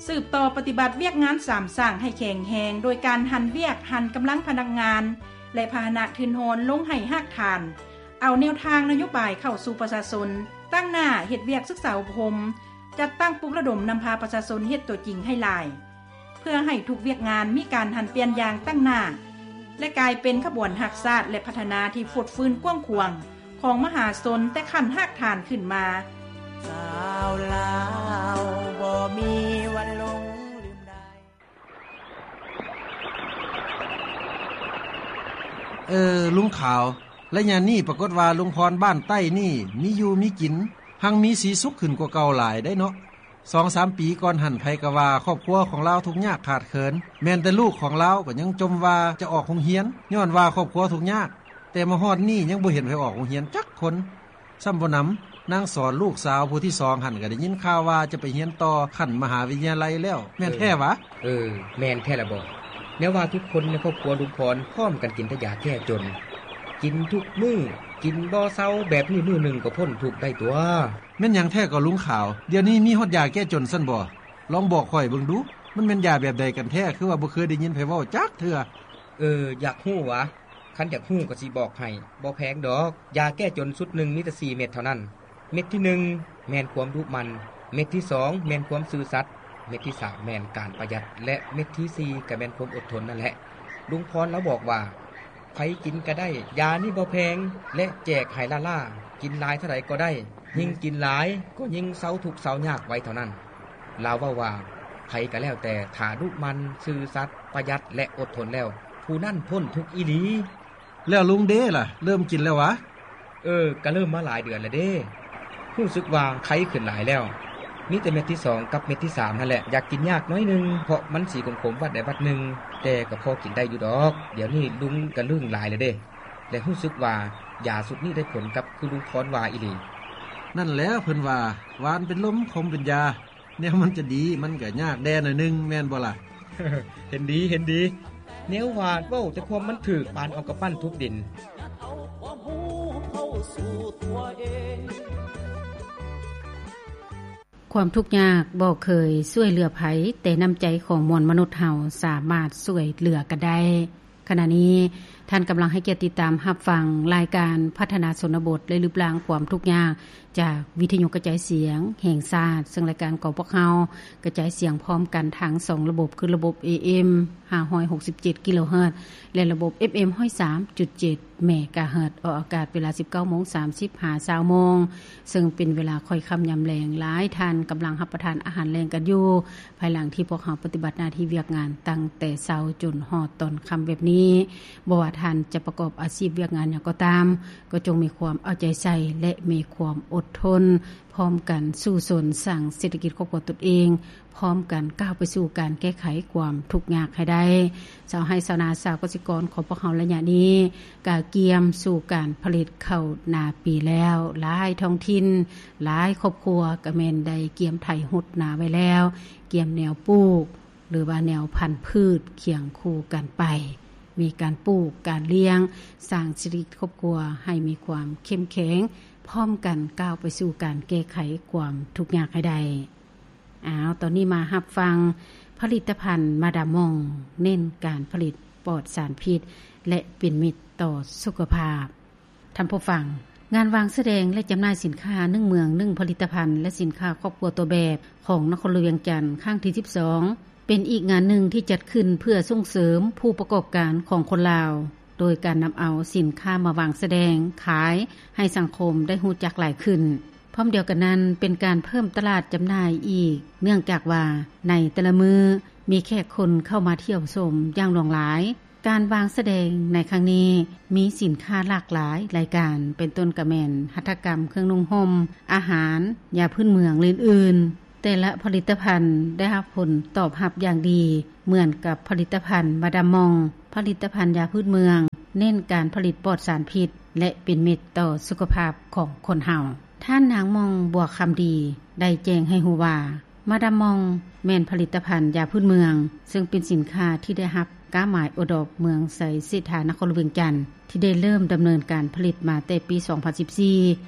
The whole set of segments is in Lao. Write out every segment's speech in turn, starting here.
ສືບຕໍ່ປະຕິບັດວຽກງານສາມສ້າງໃຫ້ແຂງແຮງ ໂດຍການຫັນວຽກ, ຫັນກຳລັງພະນັກງານ ແລະ ພາຫະນະທຶນຮອນລົງໃຫ້ຮາກຖານ, ເອົາແນວທາງນະໂຍບາຍເຂົ້າສູ່ປະຊາຊົນ, ຕັ້ງໜ້າເຮັດວຽກສຶກສາອົບຮົມ, ຈັດຕັ້ງປຸກລະດົມນຳພາປະຊາຊົນເຮັດຕົວຈິງໃຫ້ຫຼາຍ. ເພື່ອໃຫ້ທຸກວຽກງານມີການຫັນປ່ຽນຢ່າງຕັ້ງໜ້າ ແລະ ກາຍເປັນຂະບວນຮັກຊາດ ແລະ ພັດທະນາທີ່ຟົດຟື້ນກວ້າງຂວາງຂອງມະຫາຊົນແຕ່ຂັ້ນຮາກຖານຂຶ້ນມາ. ຊາວລາວບໍ່ມີວັນຫຼົງລືມໄດ້. ເອີ ລຸງຂາວ, ໄລຍະນີ້ປາກົດວ່າລຸງພອນບ້ານໃຕ້ນີ້ມີຢູ່ມີກິນ, ຮັ່ງມີສີສຸກຂຶ້ນກວ່າເກົ່າຫຼາຍໄດ໋ເນາະ. ສອງສາມປີກ່ອນຫັ້ນ ໃຜກໍວ່າຄອບຄົວຂອງລາວທຸກຍາກຂາດເຂີນ, ແມ່ນແຕ່ລູກຂອງລາວກໍຍັງຈົ່ມວ່າຈະອອກໂຮງຮຽນ ຍ້ອນວ່າຄອບຄົວທຸກຍາກ, ແຕ່ມາຮອດນີ້ຍັງບໍ່ເຫັນໃຜອອກໂຮງຮຽນຈັກຄົນ. ຊ້ຳບໍ່ໜຳ, ນາງສອນລູກສາວຜູ້ທີສອງຫັ້ນ ກໍໄດ້ຍິນຂ່າວວ່າຈະໄປຮຽນຕໍ່ຂັ້ນມະຫາວິທະຍາໄລແລ້ວ, ແມ່ນແທ້ຫວາ? ເອີ ແມ່ນແທ້ລະບໍ. ແນວວ່າທຸກຄົນໃນຄອບຄົວລຸງພອນພ້ອມກັນກິນແຕ່ຢາແກ້ຈົນ, ກິນທຸກມື້, ກິນບໍ່ເຊົາ, ແບບນີ້ມື້ໜຶ່ງກໍພົ້ນທຸກໄດ້ຕົວະ. ແມ່ນຫຍັງແທ້ກໍລຸງຂາວ? ດຽວນີ້ມີຮອດຢາແກ້ຈົນຊັ້ນບໍ? ລອງບອກຂ້ອຍເບິ່ງດູ, ມັນແມ່ນຢາແບບໃດກັນແທ້? ຄືວ່າບໍ່ເຄີຍໄດ້ຍິນໃຜເວົ້າຈັກເທື່ອ. ເອີ ຢາກຮູ້ຫວາ? ຄັນຢາກຮູ້ກໍຊິບອກໃຫ້, ບໍ່ແພງດອກ. ຢາແກ້ຈົນຊຸດໜຶ່ງມີແຕ່ສີ່ເມັດເທົ່ານັ້ນ. ເມັດທີໜຶ່ງແມ່ນຄວາມດຸໝັ່ນ, ເມັດທີສອງແມ່ນຄວາມຊື່ສັດ, ເມັດທີສາມແມ່ນການປະຢັດ ແລະ ເມັດທີສີ່ກໍແມ່ນຄວາມອົດທົນນັ້ນແຫຼະ. ລຸງພອນລາວບອກວ່າ ໃຜກິນກໍໄດ້, ຢານີ້ບໍ່ແພງ ແລະ ແຈກໃຫ້ລ້າໆ, ກິນຫຼາຍເທົ່າໃດກໍໄດ້, ຍິ່ງກິນຫຼາຍກໍຍິ່ງເຊົາທຸກເຊົາຍາກໄວເທົ່ານັ້ນ. ລາວເວົ້າວ່າ ໃຜກໍແລ້ວແຕ່ ຖ້າດຸໝັ່ນ, ຊື່ສັດ, ປະຢັດ ແລະ ອົດທົນແລ້ວ, ຜູ້ນັ້ນພົ້ນທຸກອີ່ຫຼີ. ແລ້ວລຸງເດລະ, ເລີ່ມກິນແລ້ວຫວາ? ເອີ, ກະເລີ່ມມາຫຼາຍເດືອນແລ້ວເດ້. ຮູ້ສຶກວ່າໄຄຂຶ້ນຫຼາຍແລ້ວ. ມີແຕ່ເມັດທີສອງກັບເມັດທີສາມຫັ້ນແຫຼະ, ຢາກກິນຍາກໜ້ອຍໜຶ່ງ ເພາະມັນສີຂົມໆວັດໃດວັດໜຶ່ງ, ແຕ່ກໍພໍກິນໄດ້ຢູ່ດອກ. ດຽວນີ້ລຸງກະລຶ້ງຫຼາຍແລ້ວເດ້ ແລະ ຮູ້ສຶກວ່າຢາຊຸດນີ້ໄດ້ຜົນກັບຄືລຸງພອນວ່າອີ່ຫຼີ. ນັ້ນແຫຼະ ເພິ່ນວ່າ ຫວານເປັນລົມ ຂົມເປັນຢາ. ແນວມັນຈະດີ ມັນກະຍາກແດ່ໜ້ອຍໜຶ່ງ ແມ່ນບໍ່ລະ? ເຫັນດີ, ເຫັນດີ. ແນວວ່າເວົ້າແຕ່ຄວາມມັນຖືກ, ປານເອົາກຳປັ້ນທຸບດິນ. ຄວາມທຸກຍາກບໍ່ເຄີຍຊ່ວຍເຫຼືອໃຜ, ແຕ່ນ້ຳໃຈຂອງມວນມະນຸດເຮົາສາມາດຊ່ວຍເຫຼືອກັນໄດ້. ຂະນະນີ້ທ່ານກຳລັງໃຫ້ກຽດຕິດຕາມຮັບຟັງລາຍການພັດທະນາຊົນນະບົດ ແລະ ລຶບລ້າງຄວາມທຸກຍາກ ຈາກວິທະຍຸກະຈາຍສຽງແຫ່ງຊາດ, ເຊິ່ງລາຍການຂອງພວກເຮົາກະຈາຍສຽງພ້ອມກັນທັງສອງລະບົບ ຄືລະບົບ ເອເອັມ ຫ້າຮ້ອຍຫົກສິບເຈັດກິໂລເຮີດ ແລະ ລະບົບ ເອຟເອັມ ຮ້ອຍສາມຈຸດເຈັດເມກາເຮີດ, ອອກອາກາດເວລາ ສິບເກົ້າໂມງສາມສິບ ຫາ ຊາວໂມງ, ເຊິ່ງເປັນເວລາຄ່ອຍຄ່ຳຍາມແລງ. ຫຼາຍທ່ານກຳລັງຮັບປະທານອາຫານແລງກັນຢູ່, ພາຍຫຼັງທີ່ພວກເຮົາປະຕິບັດໜ້າທີ່ວຽກງານຕັ້ງແຕ່ເຊົ້າຈົນຮອດຕອນຄ່ຳແບບນີ້. ບໍ່ວ່າທ່ານຈະປະກອບອາຊີບວຽກງານຫຍັງກໍຕາມ, ກໍຈົ່ງມີຄວາມເອົາໃຈໃສ່ ແລະ ມີຄວາມອົດທົນ, ພ້ອມກັນສູ້ຊົນສ້າງເສດຖະກິດຄອບຄົວຕົນເອງ, ພ້ອມກັນກ້າວໄປສູ່ການແກ້ໄຂຄວາມທຸກຍາກໃຫ້ໄດ້. ຊາວໄຮ່ຊາວນາ, ຊາວກະສິກອນຂອງພວກເຮົາໄລຍະນີ້ ກະກຽມສູ່ການຜະລິດເຂົ້ານາປີແລ້ວ. ຫຼາຍທ້ອງຖິ່ນ, ຫຼາຍຄອບຄົວກະແມ່ນໄດ້ກຽມໄຖຫົດນາໄວ້ແລ້ວ, ກຽມແນວປູກ ຫຼືວ່າແນວພັນພືດຄຽງຄູ່ກັນໄປ, ມີການປູກ, ການລ້ຽງ, ສ້າງຊີວິດຄອບຄົວໃຫ້ມີຄວາມເຂັ້ມແຂງ, ພ້ອມກັນກ້າວໄປສູ່ການແກ້ໄຂຄວາມທຸກຍາກໃຫ້ໄດ້. ອ້າວ, ຕອນນີ້ມາຮັບຟັງຜະລິດຕະພັນມາດາມມອງ, ເນັ້ນການຜະລິດປອດສານພິດ ແລະ ເປັນມິດຕໍ່ສຸຂະພາບ. ທ່ານຜູ້ຟັງ, ງານວາງສະແດງ ແລະ ຈຳໜ່າຍສິນຄ້າໜຶ່ງເມືອງໜຶ່ງຜະລິດຕະພັນ ແລະ ສິນຄ້າຄອບຄົວຕົວແບບຂອງນະຄອນຫຼວງວຽງຈັນ ຄັ້ງທີສິບສອງ ເປັນອີກງານໜຶ່ງທີ່ຈັດຂຶ້ນເພື່ອສົ່ງເສີມຜູ້ປະກອບການຂອງຄົນລາວ, ໂດຍການນຳເອົາສິນຄ້າມາວາງສະແດງຂາຍໃຫ້ສັງຄົມໄດ້ຮູ້ຈັກຫຼາຍຂຶ້ນ. ພ້ອມດຽວກັນນັ້ນ ເປັນການເພີ່ມຕະຫຼາດຈຳໜ່າຍອີກ, ເນື່ອງຈາກວ່າໃນແຕ່ລະມື້ມີແຂກຄົນເຂົ້າມາທ່ຽວຊົມຢ່າງຫຼວງຫຼາຍ. ການວາງສະແດງໃນຄັ້ງນີ້ມີສິນຄ້າຫຼາກຫຼາຍລາຍການ, ເປັນຕົ້ນກະແມ່ນຫັດຖະກຳ, ເຄື່ອງນຸ່ງຫົ່ມ, ອາຫານ, ຢາພື້ນເມືອງ ແລະ ອື່ນໆ. ແຕ່ລະຜະລິດຕະພັນໄດ້ຮັບຜົນຕອບຮັບຢ່າງດີ, ເໝືອນກັບຜະລິດຕະພັນມາດາມມອງ, ຜະລິດຕະພັນຢາພື້ນເມືອງ, ເນັ້ນການຜະລິດປອດສານພິດ ແລະ ເປັນມິດຕໍ່ສຸຂະພາບຂອງຄົນເຮົາ. ທ່ານນາງ ໝ່ອງ ບົວຄຳດີ ໄດ້ແຈ້ງໃຫ້ຮູ້ວ່າ ມາດາມມອງ ແມ່ນຜະລິດຕະພັນຢາພື້ນເມືອງ, ເຊິ່ງເປັນສິນຄ້າທີ່ໄດ້ຮັບກ້າໝາຍໂອດອບເມືອງໄຊເສດຖາ ນະຄອນຫຼວງວຽງຈັນ ທີ່ໄດ້ເລີ່ມດຳເນີນການຜະລິດມາແຕ່ປີສອງພັນສິບສີ່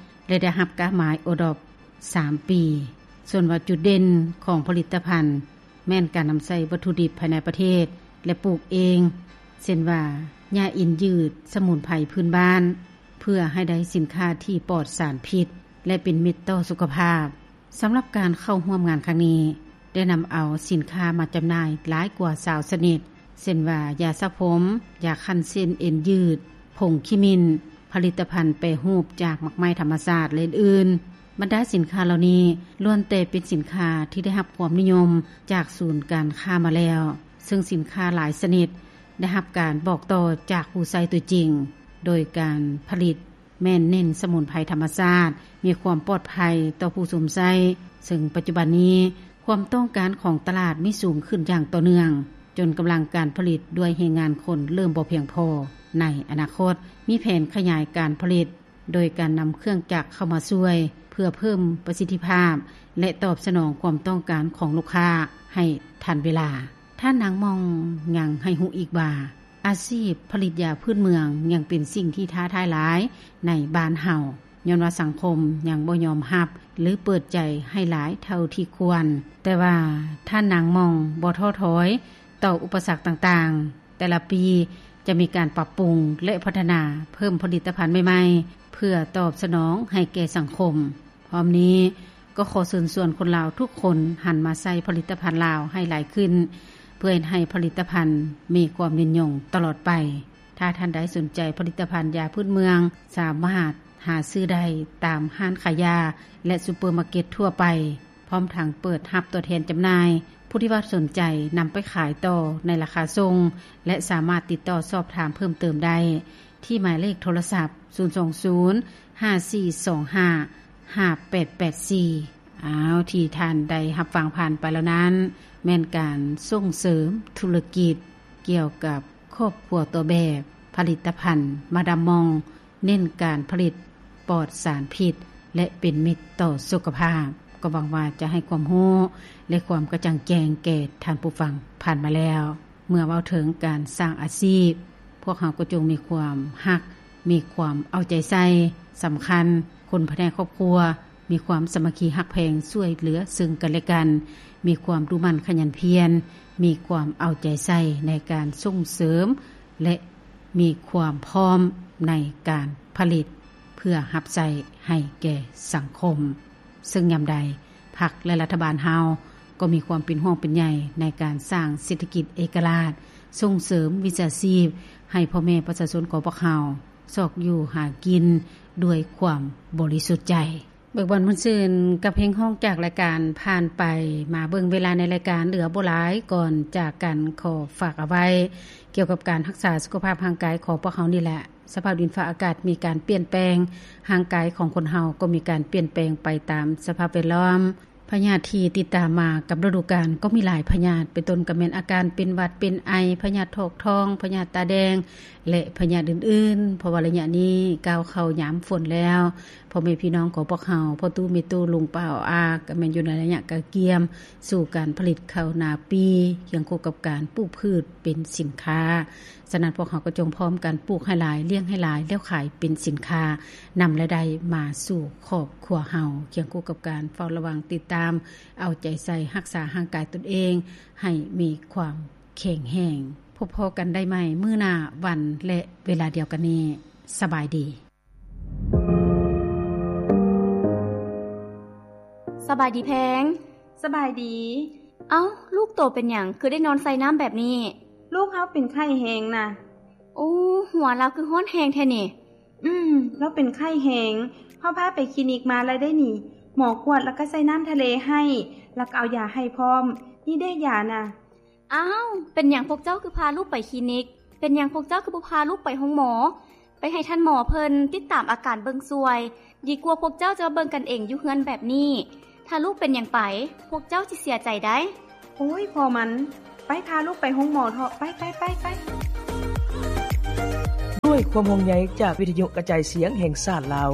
ແລະ ໄດ້ຮັບກ້າໝາຍໂອດອບສາມປີ. ສ່ວນວ່າຈຸດເດັ່ນຂອງຜະລິດຕະພັນ ແມ່ນການນຳໃຊ້ວັດຖຸດິບພາຍໃນປະເທດ ແລະ ປູກເອງ ເຊັ່ນວ່າ ຫຍ້າເອັນຍືດ, ສະໝຸນໄພພື້ນບ້ານ ເພື່ອໃຫ້ໄດ້ສິນຄ້າທີ່ປອດສານພິດ ແລະ ເປັນມິດຕໍ່ສຸຂະພາບ. ສຳລັບການເຂົ້າຮ່ວມງານຄັ້ງນີ້ ໄດ້ນຳເອົາສິນຄ້າມາຈຳໜ່າຍຫຼາຍກວ່າຊາວຊະນິດ ເຊັ່ນວ່າ ຢາສະຜົມ, ຢາຂັ້ນເສັ້ນເອັນຍືດ, ຜົງຂະມິ້ນ, ຜະລິດຕະພັນແປຮູບຈາກໝາກໄມ້ທຳມະຊາດ ແລະ ອື່ນໆ. ບັນດາສິນຄ້າເຫຼົ່ານີ້ ລ້ວນແຕ່ເປັນສິນຄ້າທີ່ໄດ້ຮັບຄວາມນິຍົມຈາກສູນການຄ້າມາແລ້ວ, ເຊິ່ງສິນຄ້າຫຼາຍຊະນິດໄດ້ຮັບການບອກຕໍ່ຈາກຜູ້ໃຊ້ຕົວຈິງ, ໂດຍການຜະລິດ ແມ່ນເນັ້ນສະໝຸນໄພທຳມະຊາດ ມີຄວາມປອດໄພຕໍ່ຜູ້ຊົມໃຊ້, ເຊິ່ງປັດຈຸບັນນີ້ ຄວາມຕ້ອງການຂອງຕະຫຼາດມີສູງຂຶ້ນຢ່າງຕໍ່ເນື່ອງ, ຈົນກຳລັງການຜະລິດດ້ວຍແຮງງານຄົນເລີ່ມບໍ່ພຽງພໍ. ໃນອະນາຄົດ ມີແຜນຂະຫຍາຍການຜະລິດ ໂດຍການນຳເຄື່ອງຈັກເຂົ້າມາຊ່ວຍ ເພື່ອເພີ່ມປະສິດທິພາບ ແລະ ຕອບສະໜອງຄວາມຕ້ອງການຂອງລູກຄ້າໃຫ້ທັນເວລາ. ທ່ານນາງ ໝ່ອງ ຍັງໃຫ້ຮູ້ອີກວ່າ ອາຊີບຜະລິດຢາພື້ນເມືອງຍັງເປັນສິ່ງທີ່ທ້າທາຍຫຼາຍໃນບ້ານເຮົາ, ຍ້ອນວ່າສັງຄົມຍັງບໍ່ຍອມຮັບ ຫຼື ເປີດໃຈໃຫ້ຫຼາຍເທົ່າທີ່ຄວນ. ແຕ່ວ່າທ່ານນາງ ໝ່ອງ ບໍ່ທໍ້ຖອຍຕໍ່ອຸປະສັກຕ່າງໆ, ແຕ່ລະປີຈະມີການປັບປຸງ ແລະ ພັດທະນາເພີ່ມຜະລິດຕະພັນໃໝ່ໆ ເພື່ອຕອບສະໜອງໃຫ້ແກ່ສັງຄົມ. ພ້ອມນີ້ກໍຂໍເຊີນຊວນຄົນລາວທຸກຄົນຫັນມາໃຊ້ຜະລິດຕະພັນລາວໃຫ້ຫຼາຍຂຶ້ນ ເພື່ອເຮັດໃຫ້ຜະລິດຕະພັນມີຄວາມຍືນຍົງຕະຫຼອດໄປ. ຖ້າທ່ານໃດສົນໃຈຜະລິດຕະພັນຢາພື້ນເມືອງ ສາມາດຫາຊື້ໄດ້ຕາມຮ້ານຂາຍຢາ ແລະ ຊຸບເປີມາເກັດທົ່ວໄປ, ພ້ອມທັງເປີດຮັບຕົວແທນຈຳໜ່າຍ ຜູ້ທີ່ວ່າສົນໃຈນຳໄປຂາຍຕໍ່ໃນລາຄາສົ່ງ ແລະ ສາມາດຕິດຕໍ່ສອບຖາມເພີ່ມເຕີມໄດ້ ທີ່ໝາຍເລກໂທລະສັບ ສູນສອງສູນ ຫ້າສີ່ສອງຫ້າ ຫ້າແປດແປດສີ່. ອ້າວ ທີ່ທ່ານໄດ້ຮັບຟັງຜ່ານໄປແລ້ວນັ້ນ ແມ່ນການສົ່ງເສີມທຸລະກິດກ່ຽວກັບຄອບຄົວຕົວແບບ ຜະລິດຕະພັນມາດາມມອງ ເນັ້ນການຜະລິດປອດສານພິດ ແລະ ເປັນມິດຕໍ່ສຸຂະພາບ. ກໍຫວັງວ່າຈະໃຫ້ຄວາມຮູ້ ແລະ ຄວາມກະຈ່າງແຈ້ງແກ່ທ່ານຜູ້ຟັງຜ່ານມາແລ້ວ. ເມື່ອເວົ້າເຖິງການສ້າງອາຊີບ, ພວກເຮົາກໍຈົ່ງມີຄວາມຮັກ, ມີຄວາມເອົາໃຈໃສ່, ສຳຄັນຄົນພາຍໃນຄອບຄົວ ມີຄວາມສາມັກຄີຮັກແພງ ຊ່ວຍເຫຼືອເຊິ່ງກັນແລະກັນ, ມີຄວາມດຸໝັ່ນຂະຫຍັນພຽນ, ມີຄວາມເອົາໃຈໃສ່ໃນການສົ່ງເສີມ ແລະ ມີຄວາມພ້ອມໃນການຜະລິດ ເພື່ອຮັບໃຊ້ໃຫ້ແກ່ສັງຄົມ. ເຊິ່ງຍາມໃດ ພັກ ແລະ ລັດຖະບານເຮົາກໍມີຄວາມເປັນຫ່ວງເປັນໃຍໃນການສ້າງເສດຖະກິດເອກະລາດ, ສົ່ງເສີມວິຊາຊີບໃຫ້ພໍ່ແມ່ປະຊາຊົນຂອງພວກເຮົາ ຊອກຢູ່ຫາກິນດ້ວຍຄວາມບໍລິສຸດໃຈ. ເບີກບານມ່ວນຊື່ນກັບເພງຮ້ອງຈາກລາຍການຜ່ານໄປ. ມາເບິ່ງເວລາໃນລາຍການ ເຫຼືອບໍ່ຫຼາຍ, ກ່ອນຈາກກັນຂໍຝາກເອົາໄວ້ ກ່ຽວກັບການຮັກສາສຸຂະພາບຮ່າງກາຍຂອງພວກເຮົານີ້ແຫຼະ. ສະພາບດິນຟ້າອາກາດມີການປ່ຽນແປງ, ຮ່າງກາຍຂອງຄົນເຮົາກໍມີການປ່ຽນແປງໄປຕາມສະພາບແວດລ້ອມ. ພະຍາດທີ່ຕິດຕາມມາກັບລະດູການກໍມີຫຼາຍພະຍາດ, ເປັນຕົ້ນກໍແມ່ນອາການເປັນຫວັດເປັນໄອ, ພະຍາດຖອກທ້ອງ, ພະຍາດຕາແດງ ແລະ ພະຍາດອື່ນໆ. ເພາະວ່າໄລຍະນີ້ກ້າວເຂົ້າຍາມຝົນແລ້ວ, ພໍ່ແມ່ພີ່ນ້ອງຂອງພວກເຮົາ, ພໍ່ຕູ້ແມ່ຕູ້, ລຸງປ້າອາ, ກໍແມ່ນຢູ່ໃນໄລຍະກະກຽມສູ່ການຜະລິດເຂົ້ານາປີ, ຄຽງຄູ່ກັບການປູກພືດເປັນສິນຄ້າ. ສະນັ້ນ ພວກເຮົາກໍຈົ່ງພ້ອມກັນປູກໃຫ້ຫຼາຍ, ລ້ຽງໃຫ້ຫຼາຍ, ແລ້ວຂາຍເປັນສິນຄ້າ, ນຳລາຍໄດ້ມາສູ່ຄອບຄົວເຮົາ, ຄຽງຄູ່ກັບການເຝົ້າລະວັງ, ຕິດຕາມ, ເອົາໃຈໃສ່, ຮັກສາຮ່າງກາຍຕົນເອງໃຫ້ມີຄວາມແຂງແຮງ. ພົບພໍ້ກັນໄດ້ໃໝ່ມື້ໜ້າວັນ ແລະ ເວລາດຽວກັນນີ້. ສະບາຍດີ. ສະບາຍດີແພງ. ສະບາຍດີ. ເອົ້າ, ລູກໂຕເປັນຫຍັງ ຄືໄດ້ນອນໃສ່ນ້ຳແບບນີ້? ລູກເຮົາເປັນໄຂ້ແຮງນະ. ໂອ້, ຫົວລາວຄືຮ້ອນແຮງແທ້ນີ້. ອືມ, ລາວເປັນໄຂ້ແຮງ. ເຮົາພາໄປຄລີນິກມາແລ້ວເດ້ນີ້. ໝໍກວດແລ້ວກໍໃສ່ນ້ຳທະເລໃຫ້, ແລ້ວກໍເອົາຢາໃຫ້ພ້ອມ. ນີ້ເດ້ຢານະ. ອ້າວ, ເປັນຫຍັງພວກເຈົ້າຄືພາລູກໄປຄລີນິກ? ເປັນຫຍັງພວກເຈົ້າຄືບໍ່ພາລູກໄປໂຮງໝໍ? ໄປໃຫ້ທ່ານໝໍເພິ່ນຕິດຕາມອາການເບິ່ງຊ່ວຍ, ດີກວ່າພວກເຈົ້າຈະມາເບິ່ງກັນເອງຢູ່ເຮືອນແບບນີ້. ຖ້າລູກເປັນຫຍັງໄປ, ພວກເຈົ້າຊິເສຍໃຈໄດ໋. ໂອ້ຍ ພໍ່ມັນ, ໄປພາລູກໄປໂຮງໝໍເຖາະ, ໄປ, ໄປ, ໄປ, ໄປ. ດ້ວຍຄວາມຫ່ວງໃຍຈາກວິທະຍຸກະຈາຍສຽງແຫ່ງຊາດລາວ.